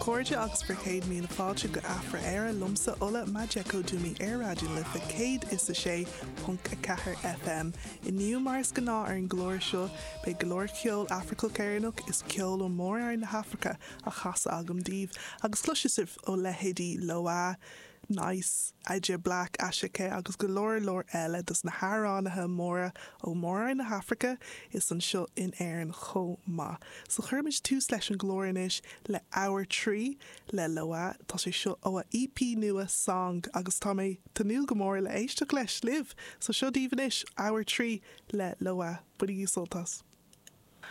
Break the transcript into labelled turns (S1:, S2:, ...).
S1: chairde agus bhur gcéad míle fáilte go Afra Éire liomsa Ola Majekodunmi ar Raidió na Life 106.4 FM. Inniu mar is gnáth ar an gclár seo beidh go leor ceol Afracach Éireannach is ceol ó Mór-Roinn na hAfraice á chasadh agam daoibh agus cloisfidh sibh ó leithéidí Loah, 9ice, AJ Black, Asake agus go leor leor eile dos na hamhránaithe móra ó Mór-Roinn na hAfraice is anseo in Éirinn chomh maith. So cuirfimid tús leis an gclár anois le Hour 3 le Loah. Tá sé seo ó a EP nua Song agus tá mé tnúth go mór le éisteacht leis libh. So seo daoibh anois Hour 3 le Loah. Bainigí sult as.